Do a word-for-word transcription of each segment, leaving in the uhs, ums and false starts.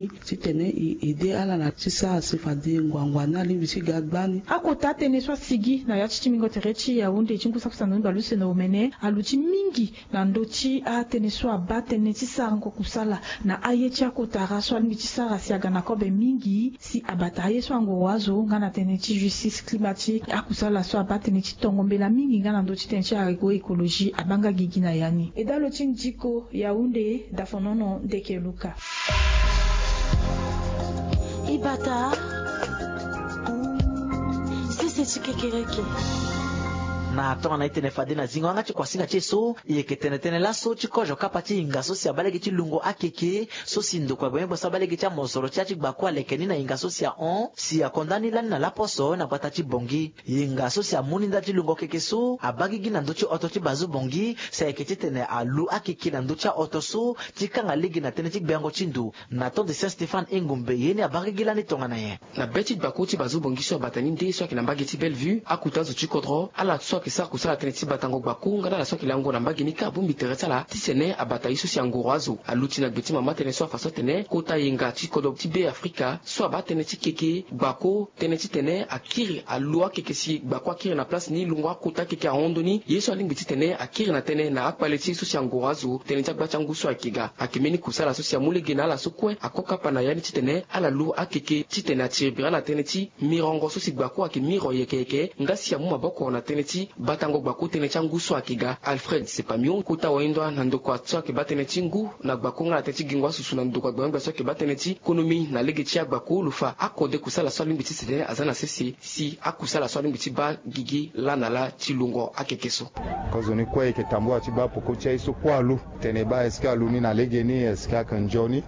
Titene e ede ala na ti sara si fade ngbangba ni alingbi ti ga gbani. Akota atënë so asigi na ya ti timingo tere ti Yaoundé ti ngu saki sango ni bale use na omene aluti mingi na ndö ti atënë so abaa tënë ti sarango kusala na aye ti akotara so alingbi ti sara si aga na kobe mingi si abata aye so angoro azo nga na tënë ti justice climatique, akusala so abaa tënë ti tongo mbela mingi nga na ndö ti tënë ti agroécologie abaa nga gigi na ya ni. Edalo ti ndiko Yaoundé, Dafonono Ndeke Luka. Ibata sese ti kekereke. Na tongana e tene fade na zingo yanga ti kuasinga ti e so, e yeke tene tënë laso ti kozo kapa ti hinga so si abaa lege ti lungo akeke so si ndokua gbengbe so abaa lege ti amosoro ti ya ti gbako aleke ni na hinga so si ahon si akonda ni lani na laposo na gbata ti Bangui. Hinga so si amu ni ndali ti lungo keke so abaa gigi na ndö ti oto ti Bazou Bangui si ayeke titene alu akeke na ndö ti ahoto so ti kanga lege na tënë ti gbengo ti ndo. Na temps de Saint Stéphane Engombe ye ni abaa gigi lani tongana nyen? Na be ti gbako ti Bazou Bangui so abata ni nde so ayeke na mbage ti Bellevue, akota zo ti kodro, ala so ayeke sara kusala tënë ti batango gbako nga na ala so ayeke lango na mbage ni kâ abongbi tere ti ala titene abata ye so si angoro azo aluti na gbe ti mama tënë so afa so atene kota yenga ti kodro ti Be Afrika so abaa tënë ti keke gbako tënë titene akiri alu akeke si gbako akiri na place ni lungo akota akeke ahon ndoni ye so alingbi titene akiri na tënë na akpale ti ye so si angoro azo tënë ti agba ti angu so ayeke ga. Ayeke mbeni kusala so si amu lege na ala so kue ako kapa na ya ni titene ala lu akeke titene atiri bira na tënë ti mirongo so si gbako ayeke miro yeke yeke nga si amu maboko na tënë ti batango gbako tënë ti angu so ayeke ga. Alfred Sepamio kota wahinda na ndokua so ayeke baa tënë ti ngu na gbako nga na tënë ti gingo asusu na ndokua gbengbe so ayeke baa tënë ti konomi na lege ti agbako lo fa akode kusala so alingbi titene aza na sese si akusala so alingbi ti baa gigi laa na laa ti lungo akeke so. Kozoni kue e yeke tambula ti baa poko ti aye so kue alu tene e baa est-ce que alu ni na legeni, est-ce que ayeke nzoni?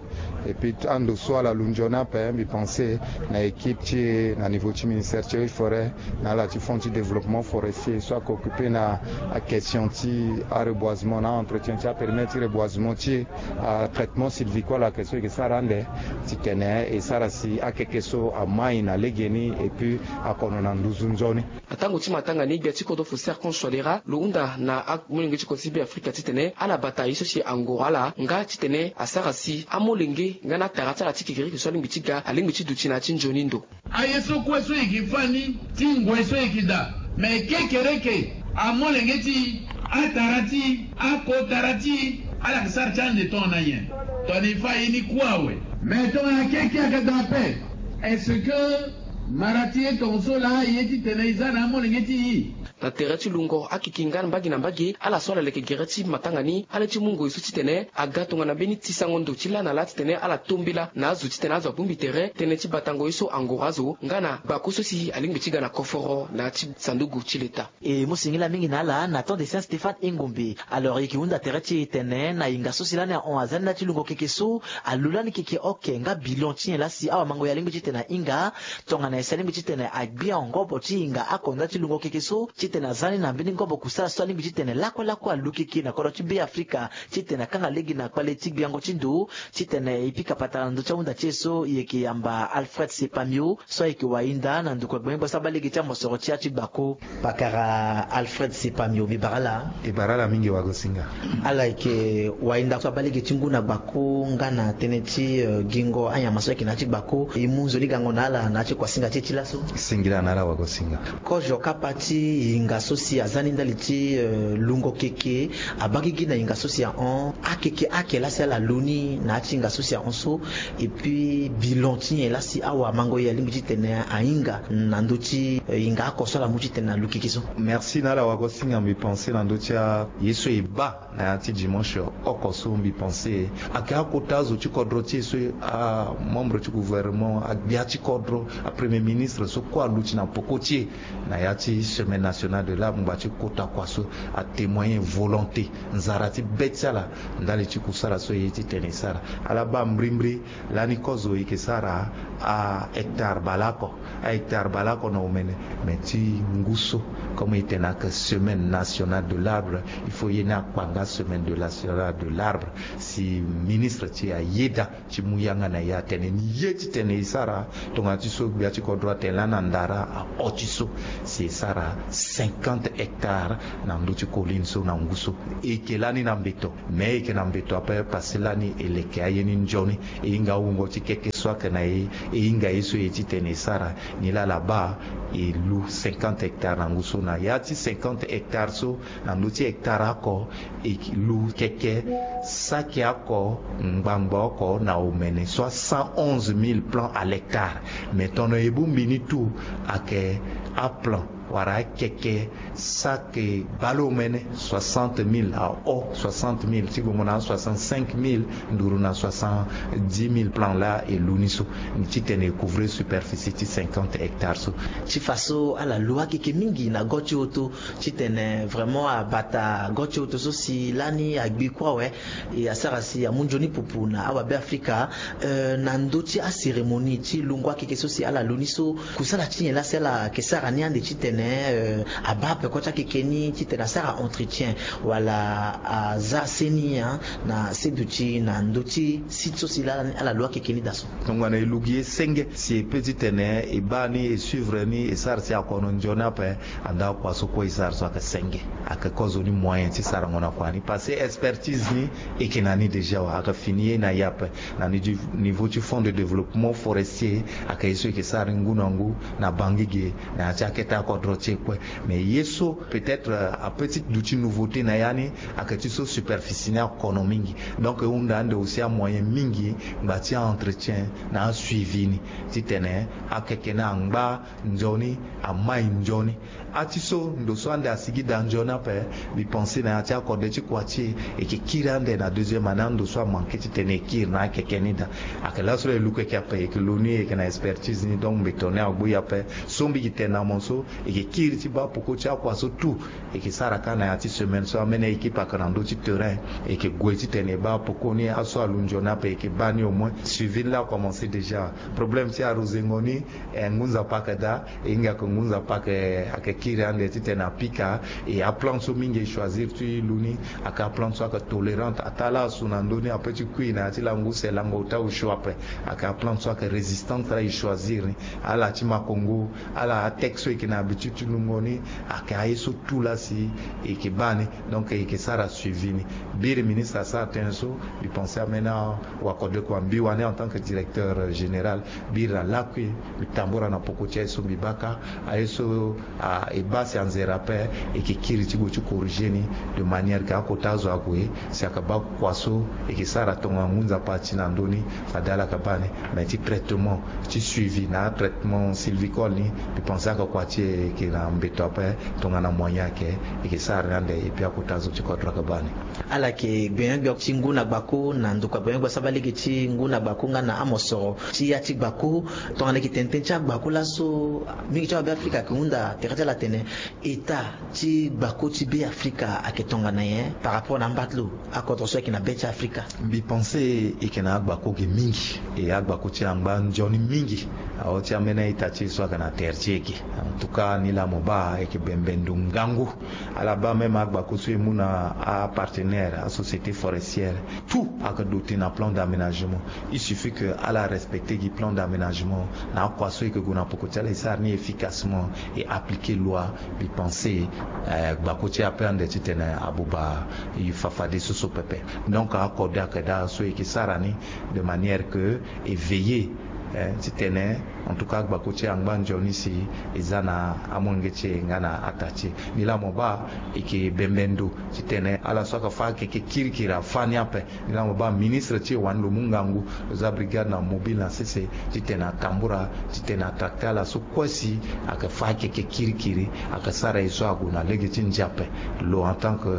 Et puis ando so ala lu nzoni ape, mbi pense na équipe ti e na niveau ti ministère ti forêt na ala ti fonds ti développement forestier so ayeke occuper na aquestion ti areboisement na aentretien ti apérimètre ti reboisement ti e, atraitement sylvicole ayeke so e yeke sara ande titene e sara si akeke so amai na legeni et puis akono na nduzu nzoni. Na tango ti matanga ni gbia ti kodro Faustin Archange Touadéra lo hunda na amolenge ti kodro ti Be Afrika titene ala bata ye so si angoro ala nga titene asara si amolenge nga na atara ti ala ti kekereke so alingbi ti ga alingbi ti duti na ya ti nzoni ndo. Aye so kue so e yeke fâ ni ti ngoi so e yeke daa, me kekereke amolenge ti e, atara ti e, akotara ti e, ala yeke sara ti ande tongana nyen? Tongana e fâ aye ni kue awe. Me tongana keke ayeke daa ape, est-ce que mara ti e tongaso laa aye titene e za na amolenge ti e? Na tere ti lungo akeke nga mbage na mbage, ala so ala leke gere ti matanga ni, ala ye ti mu ngoi so titene aga tongana mbeni ti sango ndo ti laa na laa titene ala tombela na azo titene azo abongbi tere tënë ti batango ye so angoro azo nga na gbako so si alingbi ti ga na koforo na ya ti sanduku ti leta. E mu singila mingi na ala na temps de Saint Stéphane Engombe. Alors e yeke hunda tere ti e tene na hinga so si lani ahon aza ni laa ti lungo keke so, alu lani keke oke nga bilan ti nyen laa si awamango ye alingbi titene ahinga tongana nyen si alingbi titene agbia ngobo ti hinga akonda ti lungo keke so titene aza ni na mbeni ngobo kusala so alingbi titene lakue lakue alu keke na kodro ti Be Afrika titene akanga lege na kpale ti gbiango ti ndo titene e pika patara na ndö ti ahunda ti e so. E yeke yamba Alfred Sepamio so ayeke wahinda na ndokua gbengbe so abaa lege ti amosoro ti ya ti gbako. Pakara Alfred Sepamio, mbi bara ala. E bara ala mingi wagosinga. Ala yeke wahinda so abaa lege ti ngu na gbako nga na tënë ti, eh, gingo anyama so ayeke na ya ti gbako. E mu nzoni gango na ala na ya ti kuasinga ti e ti laso. Singila na ala wagosinga. Kozo kapa ti hinga so si aza ni ndali ti, eh, lungo keke, abaa gigi na hinga so si ahon, akeke ake laa si ala lu ni na ya ti hinga so si ahon so. Et puis bilan ti nyen laa si awamango ye alingbi titene ahinga na ndö ti, eh, hinga oko so ala mu titene alu keke so? Merci na ala wagosinga. Mbi pense na ndö ti aye so e baa na ya ti dimanche oko so, mbi pense ayeke akota azo ti kodro ti e so, amembre ti gouvernement, agbia ti kodro, apremier ministre so kue aluti na poko ti e na ya ti semaine nationale de l'arbre, ngbanga ti kota kua so, atémoigner volonté, nzara ti be ti ala ndali ti kusala so e ye titene e sara. Ala baa mbrimbri lani kozo e yeke sara ahectare baleoko, ahectare baleoko na omene. Me ti ngu so, comme e tene ayeke semaine nationale de l'arbre, il faut ye ni akpa nga semaine de nationale de l'arbre si ministre ti e ayeda ti mu yanga na e atene ni ye titene e sara. Tongana ti so gbia ti kodro atene lani andara ahon ti so, si e sara cinquante hectares na ndö ti colline so na ngu so. E yeke lani na mbeto, me e yeke na mbeto ape parce que lani e leke aye ni nzoni. E hinga awungo ti keke so ayeke na e, e hinga ye so e ye titene e sara. Nilaa ala baa e lu cinquante hectares na ngu so. Na ya ti cinquante hectares so, na ndö ti hectare oko, e lu keke saki oko ngbangbo oko na omene, soit cent onze mille plants à l'hectare. Mais tono e bongbi ni tout ayeke aplan wala akeke saki baleomene, soixante mille, ahon, soixante mille, ti gongo na soixante-cinq mille nduru na soixante-dix mille plants laa e lu ni so, titene e couvrir superficie ti cinquante hectares so. Ti fa so ala lu akeke mingi na go ti hoto, titene vraiment abata go ti hoto so si lani agbi kue awe, e asara si amu nzoni pupu na awabe afrika. Euh, na ndö ti acérémonie ti lungo akeke so si ala lu ni so, kusala ti nyen laa si ala yeke sara ni ande titene, euh, abaa peko ti akeke ni titene asara entretien wala aza seni, hein, na seduti na ndö ti site so si laa ala lu akeke ni daa so? Tongana e lu gi ye senge si e peut titene e baa ni, e suivre ni, e sara si akono nzoni ape. Anda kua so kue e sara so ayeke senge, ayeke kozo ni moyen ti sarango na kua ni parce que expertise ni e yeke na ni déjà awe. Ayeke fini ye na e ape na ni niveau ti fonds de développement forestier. Ayeke ye so e yeke sara ni ngu na ngu na Bangui ge na ya ti akete akodro ti e kue. Mais ye so peut-être, euh, ape ti duti nouveauté na ya ni, ayeke ti so superficie ni akono mingi. Donc e hunda ande aussi amoyen mingi ngba ti a-entretien na asuivi ni, titene akeke ni angba nzoni, amai nzoni. Ati so ndo so ande asigi daa nzoni ape, mbi pense na ya ti akode ti kua ti e, e yeke kiri ande na deuxième année ando so amanke titene e kiri na akeke ni daa. Ayeke laso e lu keke ape, e yeke lu ni, e yeke na expertise ni. Donc mbeto ni agbu e ape. So mbi yeke tene na mo so, e yeke kiri ti baa peko ti akua so tout. E yeke sara kâ na ya ti semaine so, ameni équipe ayeke na ndö ti terrain. E yeke gue titene e baa peko ni, aso alu nzoni ape e yeke baa ni au moins. Suivi ni laa akomense déjà. Problème ti arosengo ni, eh, ngu nzapa ayeke daa. E hinga ayeke ngu nzapa ayeke, ayeke kiri ande titene apika. E aplante so mingi e choisir ti lu ni ayeke aplante so ayeke tolérante. Ataa laa asu na ndö ni ape ti kui na ya ti lango use, lango ota osio ape. Ayeke aplante so ayeke résistante laa e choisir ni. Ala ti makongo, ala atexte so e yeke na habitude ti lungo ni, ayeke aye so tout laa si e yeke baa ni. Donc e yeke sara suivi ni. Biri ministre asara tënë so, mbi pense ameni awakode kua mbi wani en tant que directeur général. Biri na lakui, mbi tambura na poko ti aye so mbi baa kâ, aye so, ah, e baa si anzere ape, e yeke kiri ti gue ti corriger ni, de manière que akota azo ague si ayeke baa kua so e yeke sara tongana ngu nzapa ti na ndö ni, fade ala yeke baa ni. Mais ti traitement, ti suivi na atraitement sylvicole ni, mbi pense ayeke kua ti e yeke na mbeto ape, tongana moyen ayeke, e yeke sara ni ande, et puis akota azo ti kodro ayeke baa ni. Ala yeke gbenyo-gbia ti ngu na gbako na ndokua gbenyo-gbia so abaa lege ti ngu na gbako nga na amosoro ti ya ti gbako. Tongana e yeke tene tënë ti agbako laso, mingi ti awabe afrika ayeke hunda tere ti ala atene, état ti gbako ti Be Afrika ayeke tongana nyen par rapport na amba ti lo, akodro so ayeke na be ti Afrika? Mbi pense e yeke na agbako ge mingi, e agbako ti angba nzoni mingi. Awe ti ambeni a-ita ti e so ayeke na tere ti e ge. En tout cas, ni laa mo baa e yeke bembe ndo ngangu. Ala baa même agbako so e mu na apartenaire, asociété forestière, tout ayeke doté na plan d'aménagement. Il suffit que ala respecter gi plan d'aménagement na akua so e yeke gue na poko ti ala, e sara ni efficacement, e appliquer loi. Mbi pense, eh, gbako ti e ape ande titene abuba e fa fadeso so pepe. Donc akode ayeke daa so e yeke sara ni de manière que e veiller, eh, titene, en tout cas, gbako ti e angba nzoni si e za na amolenge ti e nga na ata ti e. Ni laa mo baa e yeke bembe ndo titene ala so ayeke fâ akeke kirikiri afâ ni ape. Ni laa mo baa ministre ti e wani lo mu ngangu, lo za brigade na mobile na sese titene atambura titene atracter ala so kue si ayeke fâ akeke kirikiri, ayeke sara ye so ague na lege ti ndia ape. Lo en tant que,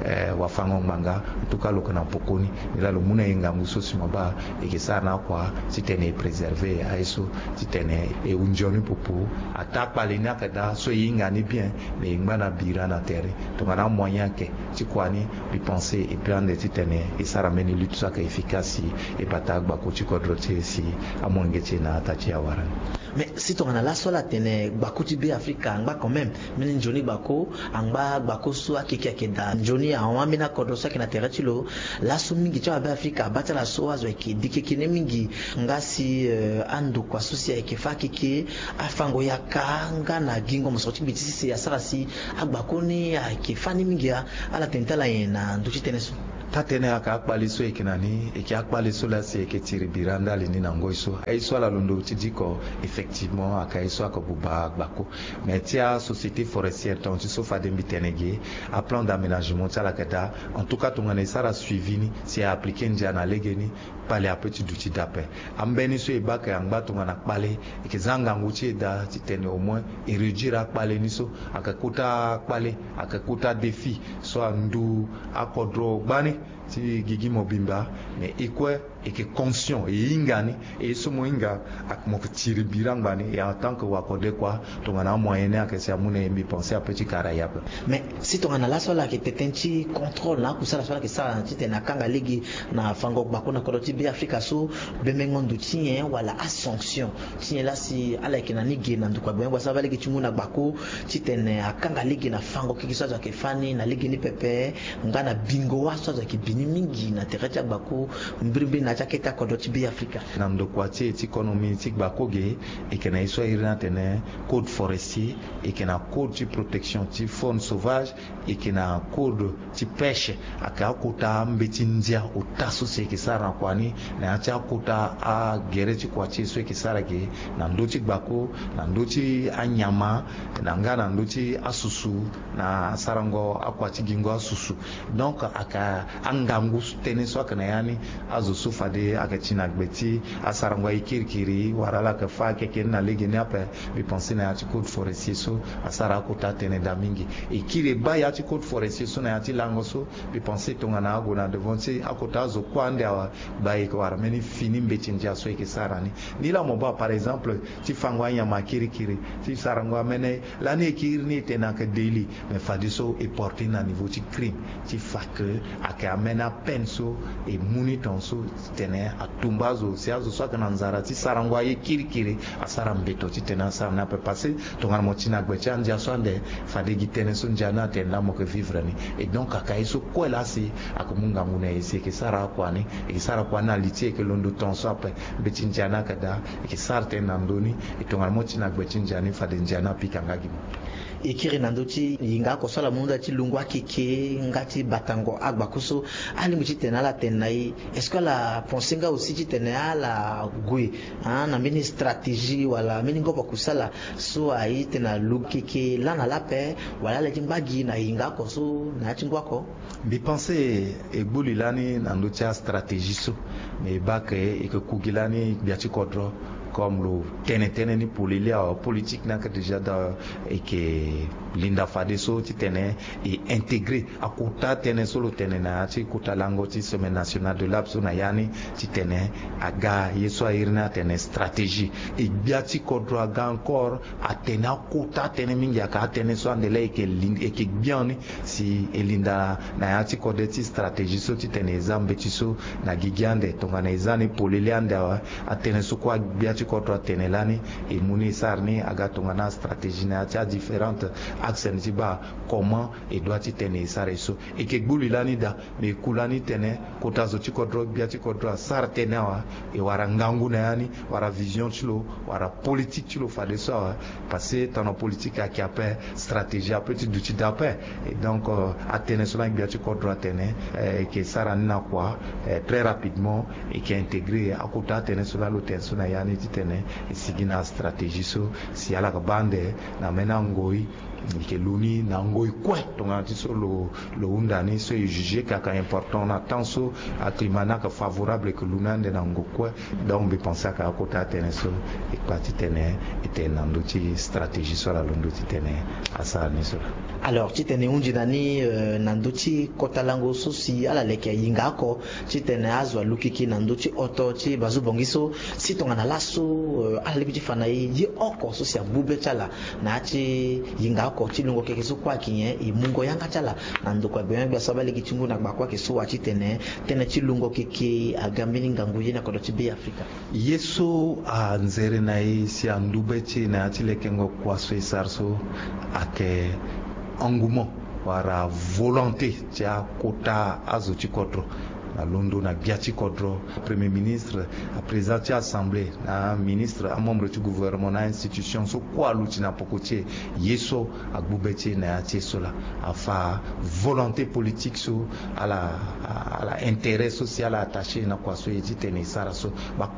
eh, wafango-ngbanga, en tout cas lo yeke na pokoni. Ni laa lo mu na e ngangu so si mo baa e yeke sara na akua titene e préserver aye so, titene e hu nzoni pupu. Ataa kpale ni ayeke daa so e hinga ni bien, mais e ngba na bira na tere. Tongana amoyen ayeke ti kua ni, mbi pense e peut ande titene e sara mbeni lutte so ayeke efficace si e bata agbako ti kodro ti e si amolenge ti e na ata ti e awara ni. Mais si tongana laso ala tene gbako ti Be Afrika angba quand même, mbeni nzoni gbako angba, gbako so akeke ayeke daa nzoni ahon ambeni akodro so ayeke na tere ti lo. Laso mingi ti awa Be Afrika abaa ti ala so azo ayeke dikeke ni mingi. Nga si eh, andokua so si ayeke fâ akeke, afango yaka nga na gingo mosoro ti gbe ti sese asara si agbako ni ayeke fâ ni mingi. Ala tene ti ala nyen na ndö ti tënë so? Taa-tënë ayeke akpale so e yeke na ni, e yeke akpale so laa si e yeke tiri bira ndali ni na ngoi so. Aye so ala londo ti diko, effectivement ayeke aye so ayeke buba gbako. Mais ti asociété forestière, tonga ti so fade mbi tene ge, aplan d'aménagement ti ala ayeke daa. En tout cas tongana e sara suivi ni, si e appliquer ndia na legeni, kpale ape ti duti daa ape. Ambeni so e baa ayeke angba tongana kpale, e yeke za ngangu ti e daa titene au moins e réduire akpale ni so. Ayeke kota kpale, ayeke kota défi so andu akodro gbani ti gigi mobimba. Mais e kue e yeke conscient, e hinga ni. E so mo hinga, mo yeke tiri bira ngbani. Et en tant que wakode kua, tongana amoyen ni ayeke si amu na e, mbi pense ape ti kara e ape. Mais si tongana laso ala yeke tene ti contrôle na akusala so ala yeke sara titene akanga lege na fango gbako na kodro ti Be Afrika so, bemengo ndo ti nyen wala asanction ti nyen laa si ala yeke na ni ge na ndokua gbenyo gbasara va lege ti ngu na gbako titene akanga lege na fango keke so azo ayeke fâ ni na legeni pepe, nga na bingo wâ so azo ayeke bi ni mingi na tere ti agbako mbirimbiri na ya ti akete akodro ti Be Afrika? Na ndokua ti e ti konomi ti gbako ge, e yeke na ye so a iri ni atene code forestier, e yeke na code ti protection ti faune sauvage, e yeke na code ti pêche. Ayeke akota mbeti ndia ota so si e yeke sara na kua ni, na ya ti akota agere ti kua ti e so e yeke sara ge na ndö ti gbako, na ndö ti anyama, na nga na ndö ti asusu, na asarango akua ti gingo asusu. Donc ayeke angangu tënë so ayeke na ya ni. Azo so fade ayeke ti na gbe ti asarango aye kirikiri wala ala yeke fâ akeke ni na legeni ape, mbi pense na ya ti code forestier so asara akota tënë daa mingi. E kiri e baa ya ti code forestier so na ya ti lango so, mbi pense tongana ague na devant ti akota azo kue ande awa, gba e yeke wara mbeni fini mbeti ndia so e yeke sara ni. Ni laa mo baa par exemple ti fango anyama kirikiri, ti sarango amene, lani e kiri ni e tene ayeke délit, mais fadeso e porte ni na niveau ti crime, ti fa ke ayeke amene apeine so e mu ni tonga so titene atumba azo, si azo so ayeke na nzara ti sarango aye kirikiri asara mbeto titene asara ni ape. Parce que tongana mo ti na gbe ti andia so ande, fade gi tënë so ndia ni atene laa mo yeke vivre ni. Et donc ayeke aye so kue laa si ayeke mu ngangu na e si e yeke sara akua ni, e yeke sara kua ni na li ti e, e yeke londo tonga so ape. Mbeti ndia ni ayeke daa, e yeke sara tënë na ndö ni. E tongana mo ti na gbe ti ndia ni, fade ndia ni apika nga gi mo. E kiri na ndö ti yinga oko so ala mu nda ti lungo akeke nga ti batango agbako so, alingbi titene ala tene na e, est-ce que ala pense nga aussi titene ala gue, ah, na mbeni stratégie wala mbeni ngobo kusala so aye titene aluku keke laa na laa ape, wala ala ye ti ngba gi na yinga oko so na ya ti ngu oko? Mbi pense e gbu li lani na ndö ti astratégie so. Me e baa ke e yeke ku gi lani gbia ti kodro, comme lo tene tënë ni polele awe, politique ni ayeke déjà daa, e yeke linda fadeso titene e intégrer akota tënë so lo tene na ya ti kota lango ti semaine nationale de l'arbre so na ya ni, titene aga ye so a iri ni atene stratégie. E gbia ti kodro aga encore atene akota tënë mingi, aka atënë so ande laa e yeke lin-, e yeke gbian ni si e linda na ya ti kode ti stratégie so titene e za mbeti so na gigi ande. Tongana e za ni polele ande awe, atënë so kue agbia ti kodro atene lani, e mu ni e sara ni aga tongana astratégie na ya ti adifférente axe ni ti baa comment e doit titene e sara e so. E yeke gbu li lani daa, me e ku lani tene kota zo ti kodro, gbia ti kodro asara tënë awe, e wara ngangu na ya ni, wara vision ti lo, wara politique ti lo fadeso awe. Parce que tongana politique ayeke ape, stratégie ape ti duti daa ape. Et donc, euh, atënë so lani gbia ti kodro atene, euh, e yeke sara ni na kua, euh, très rapidement, e yeke intégrer akota atënë so lani lo tene so na ya ni titene e sigi na stratégie so, si ala yeke baa ande na mbeni angoi, e yeke lu ni na ngoi kue. Tongana ti so lo, lo hunda ni so e juger ke ayeke important na temps so aclimat ni ayeke favorable, e yeke lu ni ande na ngoi kue. Donc mbi pense ayeke akota atënë so e kpa titene e tene na ndö ti stratégie so ala londo titene asara ni so laa. Alors titene e hunzi na ni, euh, na ndö ti kota lango so si ala leke yinga oko, titene azo alukiki na ndö ti hoto ti bazu bongi so, si tongana laso, euh, ala lingbi ti fa na e ye oko so si agbu be ti ala na ya ti yinga oko. Oko ti lungo keke so kue ayeke nyen? E mungo yanga ti ala na ndokua gbenyo-gbia so abaa lege ti ngu na gba kue ayeke so wa titene tënë ti lungo keke aga mbeni ngangu ye na kodro ti Be Afrika. Ye so anzere na e si andu be ti e na ya ti lekengo kua so e sara so ayeke engouement wala volonté ti akota azo ti kodro na londo na gbia ti kodro. Premier ministre, aprésident ti assemblée, na aministre, amembre ti gouvernement, na ainstitution so kue aluti na poko ti e. Ye so agbu be ti e na ya ti e so laa afa volonté politique so ala, ala intérêt so si ala attaché na kua so e titene e sara so. Ba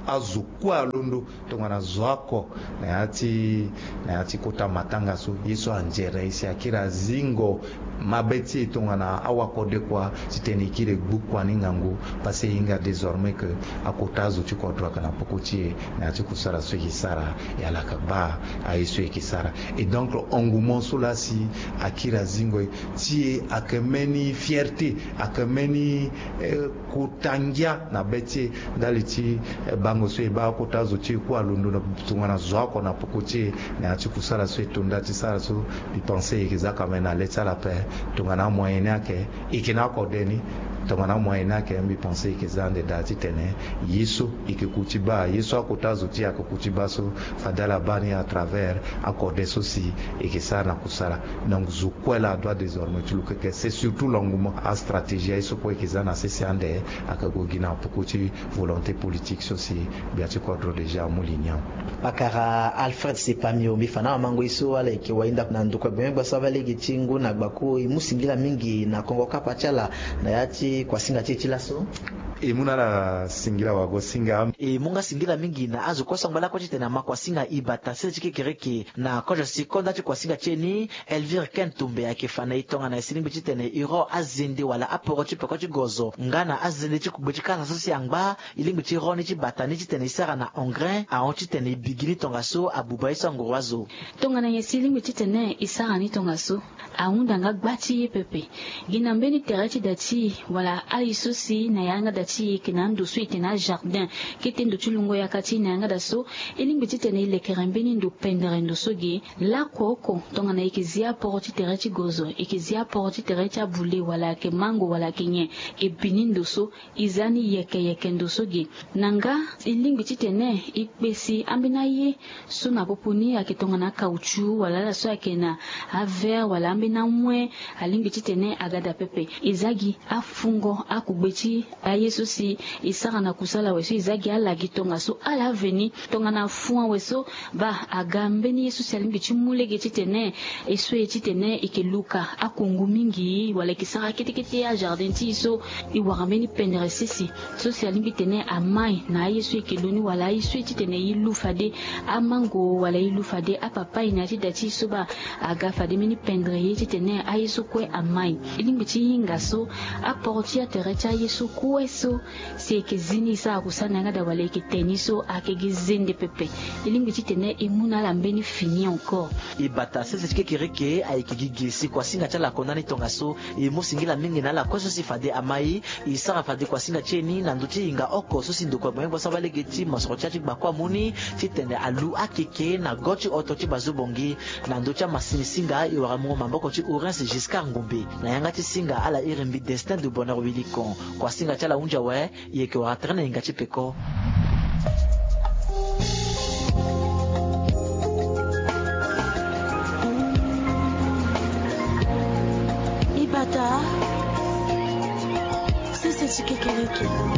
azo kue alondo tongana zo oko na ya ti, na ya ti kota matanga so. Ye so anzere na e si akiri azingo mabe ti e tongana awakode kua titene e kiri e gbu kua ni ngangu. Parce que e hinga désormais que akota azo ti kodro ayeke na poko ti e na ya ti kusala so e yeke sara. E ala yeke baa aye so e yeke sara. Et donc engouement so laa si akiri azingo e ti e ayeke mbeni fierté, ayeke mbeni, eh, kota ngia na be ti e ndali ti, eh, bango so e baa akota azo ti e kue alondo na tongana zo oko na poko ti e na ya ti kusala so e to nda ti sara so. Mbi pense e yeke za quand même na le ti ala ape. Tongana amoyen ni ayeke, e yeke na akode ni. Tongana amoyen ni ayeke, mbi pense e yeke za ande daa titene ye so e yeke ku ti baa, ye so akota azo ti e ayeke ku ti baa so, fade ala baa ni à travers akode so si e yeke sara na kusala. Donc zo kue laa adoit désormais ti luke ke. C'est surtout l'engouement, astratégie aye so kue e yeke za na sese ande ayeke gue gi na poko ti volonté politique so si gbia ti kodro déjà amu li ni awe. Pakara Alfred Sepamio, mbi fa na awamango ye so ala yeke wayinda na ndokua gbenyo-gbia so abaa lege ti ngu na gbako, e mu singila mingi na kongo kapa ti ala na ya ti kuasinga ti e ti laso. E mu na ala singila wago singa. E mu nga singila mingi na azo kue so angba lakue titene ama kuasinga e bata sese ti kekereke na kozo si konda ti kuasinga ti e ni. Elvire Ken Tumbe ayeke fa na e tongana e si lingbi titene e ro azende wala aporo ti peko ti gozo nga na azende ti kugbe ti kasa so si angba. E lingbi ti ro ni ti bata ni titene e sara na engrais ahon titene e bigi ni tongaso abuba ye so anguru azo. Tongana nyen si e lingbi titene e sara ni tongaso? Ahunda nga gba ti ye pepe. Gi na mbeni tere ti da ti e wala aye so si na yanga da ti e yeke na ando so e tene ajardin, kete ndo ti lungo yaka ti e na yanga da so, e lingbi titene e lekere mbeni ndo pendere ndo so ge. Laoko oko tongana e yeke zi aporo ti tere ti gozo, e yeke zi aporo ti tere ti abule wala ayeke mango wala ayeke nyen, e bi ni ndo so, e za ni yeke yeke ndo so ge. Na nga e lingbi titene e kpesi ambeni aye so na popo ni ayeke tongana akautchu wala ala so ayeke na avert wala ambeni amoin, alingbi titene aga daa pepe. E za gi afungo akugbe ti aye so si e sara na kusala awe so e za gi ala gi tongaso ala veni tongana fun awe so. Baa aga mbeni ye so si alingbi ti mu lege titene e so e titene e yeke luka akungu mingi wala e yeke sara kete kete ajardin ti e so e wara mbeni pendere sese so si alingbi tene amai na aye so e yeke lo ni wala aye so e titene e lu fade amango wala e lu fade apapaye na ya ti da ti e so baa aga fade mbeni pendere ye titene aye so kue amai. E lingbi ti hinga so aporo ti atere ti aye so kue so si e yeke zi ni e sara kusala na yanga daa wala e yeke te ni so ayeke gi zende pepe. E lingbi titene e mu na ala mbeni fini encore. E bata sese ti kekereke ayeke gi ge si kuasinga ti ala akonda ni tongaso. E mu singila mingi na ala kue so si fade amai e sara fade kuasinga ti e ni na ndö ti hinga oko so si ndokua gbenyo-gbia so abaa lege ti mosoro ti ya ti gbako amu ni titene alu akeke na go ti oto ti bazo bongi. Na ndö ti amasini singa e wara mungo maboko ti Orense Giscard Ngombe na yanga ti singa ala iri mbi Destin de Bonheur Wilikon. Kuasinga ti ala hunzi awe. E yeke wara tere na hinga ti peko. E bata sese ti kekereke.